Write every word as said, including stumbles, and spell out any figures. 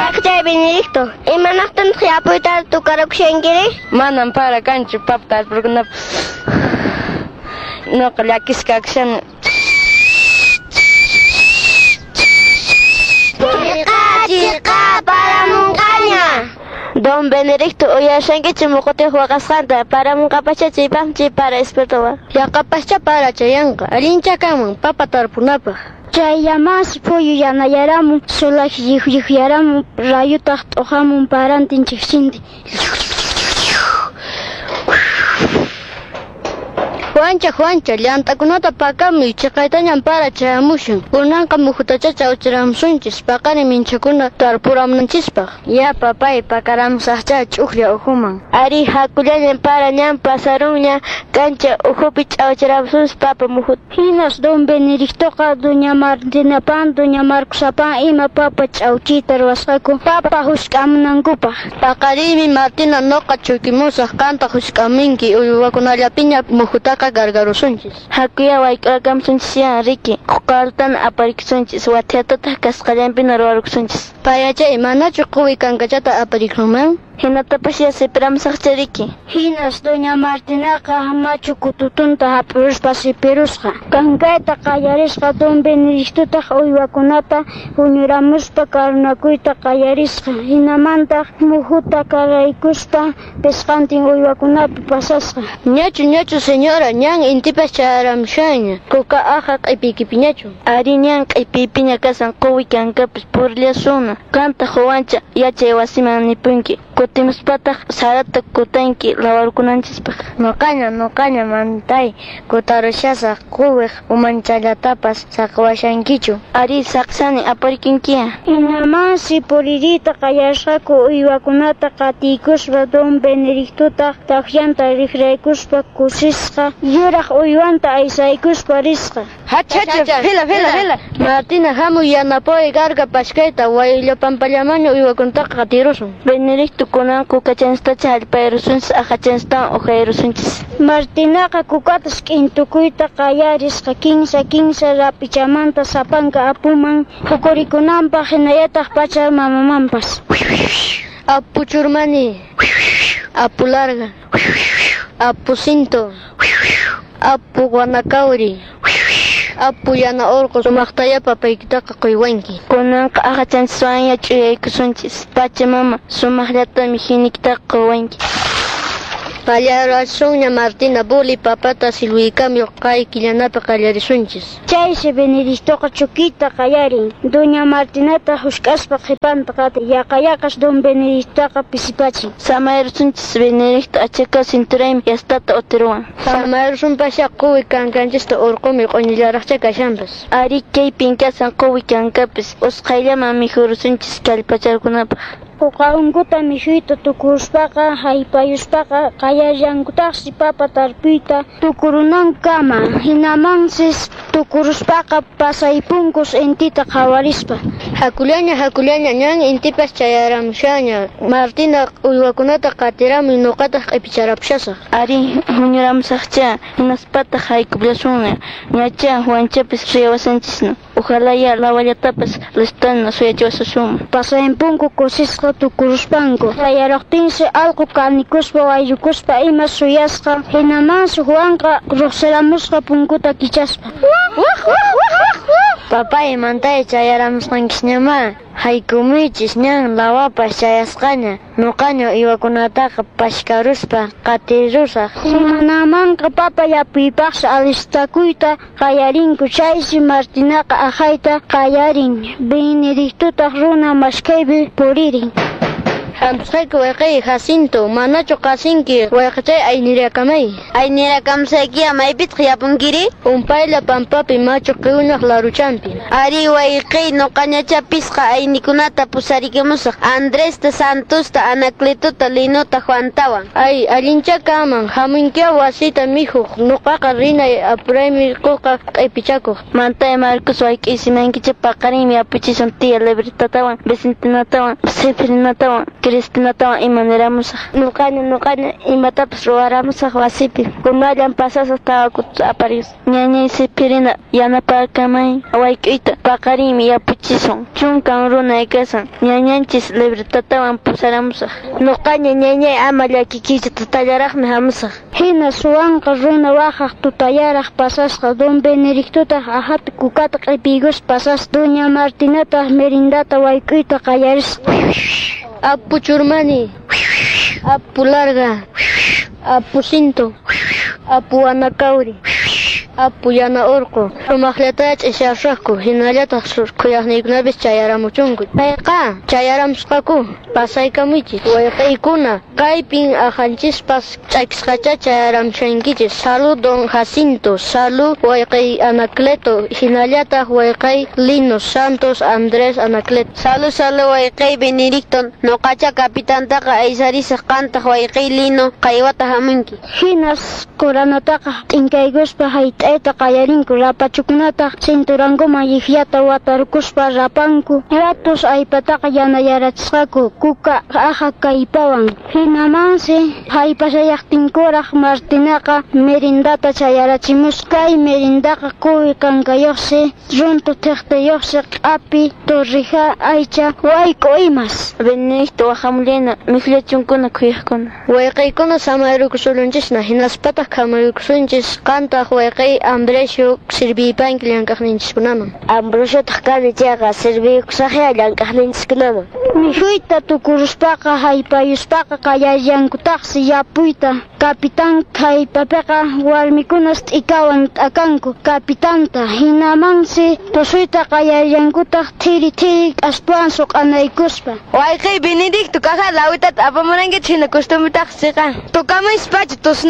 Wayqichay Benedicto, imanaqtintaq yapuyta tukarakushankiri? Manan para kanchu papa tarpurkunapaq. Nuqa llakisqa kakushani. Chiqa chiqa paramunqaña. Don Benedicto uyashankichu muqutiq waqasqanta paramunqapascha chaypaqmi chay para espiritual. Yaqapascha para chayanqa allincha kanman papa tarpunapaq. Chayllamansi phuyu yanayaramun, sulaq lliqlliqyaramun, rayutaq t'uqamun parantin chikchintin. Juancha, Juancha, llant'akunata pakamuy, chiqaytañan para chayamushan. Kunanqa muhutacha chawchiramusunchis, paqarin minchakuna tarpuramunanchispaq. Ya papay, pakaramusaqcha ch'uklla ukhuman. Ari hakullañan para ñan pasarunña, kancha ukhupi ch'awchiramusunchis papa muhuta. Hinas don Benedictoqa doña Martinapan, doña Marcosapan ima papa ch'awchiyta ruwasqaku papa husk'amunankupaq. Paqarinmi Martina nuqa chukimusaq, qantaq husk'amunki uywakunallapiña muhutaqa gargarusunchis. Hakuya wayk'urakamusunchis riki, quqarutana aparikusunchis, wathiatataq kasqallanpina ruwarukusunchis. Payachay, manachu quwi kankachata aparikuman? Hinatapas ya sipiramusaqcha riki. Hinas doña Martinaqa machu kututunta hap'iruspa sipirusqa. Kankayta qallarisqa don Benedictotaq uywakunata huñuramuspa karunakuyta qallarisqa. Hinamantaq muhuta karaykuspa pisqantin uywakunapi pasasqa. Ñachu, ñachu señora, ñan intipas chayaramushanña. Kuka aja q'ipiykipiñachu. Ari ñan q'ipiypiña kasan quwi kankapis purillasunna. Qantaq Juancha yachay wasiman nipunki. Kutimuspataq sarata kutanki lawarkunanchispaq. Nuqaña, nuqaña mantay kutarushasaq quwiq umanchallatapas saqiwashankichu. Ari saqsani aparikunkiya. Hinamansi puririyta qallarisqaku uywakunata qatiykuspa don Benedictotaq takllanta riqraykuspa kusisqa yuraq uywanta aysaykuspa risqa. Hacha, hacha, fila, fila, fila. Martina hamuy yanapuway garga pashkayta wayllapampallamaña uywakunataqa qatirusun. Benedicto kunan kukachanstacha hallpayrusunchis aqhachanchistawan uqayrusunchis. Martinaqa kukatas k'intukuyta qallarisqa kinsa kinsa rapichamanta sapanka apuman hukurikunanpaq hinallataq pacha mamamanpas. Apu churmani, apu larga, apu cinto, apu guanakauri, apu yana orqo sumaqtaya papaykitaqa quywanki. Kunanqa aqhachanchiswanya ch'uyaykusunchis. Pachamama sumaqllatami hinikitaqa quwanki. Pallarasunña Martina buli papata silwiykamuy kay killanapi qallarisunchis. Chaysi Benedictoqa chukiyta qallarin. Doña Martinata husk'aspa qhipanta qatin. Yaqa yaqas don Benedictoqa pisipachin. Samayrusunchis Benedicto achaka cinturaymi yastata utiruwan. Samayrusunpasya quwi kankanchista urqumi q'uñillaraqcha kashanpas. Ari kaypin kasan quwi kankapis usqhayllaman mikhurusunchis kallpacharkunapaq. Uqankuta mikhuyta tukuruspaqa haypayuspaqa qallallankutaqsi papa tarpuyta tukurunankama. Hinamansis tukuruspaqa pasaypunkus intita qhawarispa. Hakullaña, hakullaña, ñan intipas chayaramushaña. Martina uywakunata qatiramuy nuqataq q'ipicharapusasaq. Ari huñuramusaqcha hinaspataq haykullasunña. Ñacha Juanchapis riyawasanchisna. Ojalá ya lawallatapas listana suyachiwasasunman. Pasaypunku kusisqa tukuruspanku. Qallaruqtinsi allqu kanikuspa wayllukuspa ima suyasqa. Hinamansi Juanqa ruqsiramusqa punkuta kichaspa. Papay mantay chayaramusqankisñamá. Haykumuychis ñan lawapas chayasqaña. Nuqaña uywakunataqa pashkaruspa qatirusaq. Hinamanqa papa yapuypaqsi alistakuyta qallarinku. Chaysi Martinaqa aqhayta qallarin. Benedictotaq runa maskhaypi puririn. Hampusqayki wayqiy Jacinto, manachu qasinki wayqichay aynirakamay. Aynirakamusaykiya maypitaq yapunkiri? Umpaylla pampapi machu qiwnaq laruchampi. Ari wayqiy nuqañacha pisqa aynikunata pusarikamusaq. Andresta, Santosta, Anacletota, Linota, Juantawan. Ay, allincha kaman, hamunkiya wasita mikhuq, nuqaqa rinay apuraymi quqa q'ipichakuq. Mantay Marcos wayk'isimankicha paqarinmi apuchisun tía Libertatawan, Vicentinatawan, Sefrinatawan, Cristinatawan ima niramusaq. Nuqaña nuqaña imatapas ruwaramusaq wasipi. Kunallan pasasaq tawakuta aparis. Ñañay Sipirina yanapakamay wayk'uyta paqarinmi yapuchisun. Chunkan runa kasan. Ñañanchis libretatawan pusaramusaq. Nuqaña ñañay ama llakikiychu tutallaraqmi hamusaq. Hina suwanqa runa waqaq tutayaraq pasasqa don Benedictotaq ahata kukata q'ipiykuspa pasasqa doña Martinataq merindata wayk'uyta qallarisqa. Apu Churmani, Apu Larga, Apu Cinto, Apu Anacauri, Apu Yana Urqu. Sumaqllata ch'isiyasqaku, hinallataq khuyaqniykunapis chayaramuchunku. Payqa chayaramusqaku, pasaykamuychis. Wayqiykuna, kaypin ahanchispas ch'akisqacha chayaramushankichis. Salud don Jacinto, salud wayqiy Anacleto, hinallataq wayqiy Lino Santos Andrés Anacleto. Salud, salud wayqiy Benedicto, nuqacha kapitantaqa aysarisaq qantaq wayqiy Lino qaywata hamunki. Hinas quranataqa t'inkaykuspa hayt'ayta qallarinku, rapachukunataq cinturankuman llikllata watarkuspa rapanku. Ratus allpataqa yanayarachisqaku kuka aja kallpawan. Hinamansi haypashallaqtinkuraq Martinaqa merindata chayarachimusqa. Kay merindaqa quwi kankayuqsi, runtu thiqtiyuqsi, q'api, torrija, aycha, wayk'u imas. Benedicto waqhamullana mikhullachunkuna khuyaqkuna. Wayqiykuna samayrukusullanchisna, hinaspataq khamaykusunchis qantaq wayqiy Ambrosio sirviypanki llank'aqninchiskunaman. Ambrosiotaq kani chayqa sirviykusaqya llank'aqninchiskunaman. Mikhuyta tukuruspaqa haypayuspaqa qallallankutaqsi yapuyta. Kapitan haypapiqa warmikunas t'ikawan t'akanku kapitanta. Hinamansi tusuyta qallallankutaq thiri thiri k'aspawan suq'anaykuspa. Wayqiy Benedicto kaja lawitata apamurankichik hina costumbretaq siqa. Tukamuyspacha tusna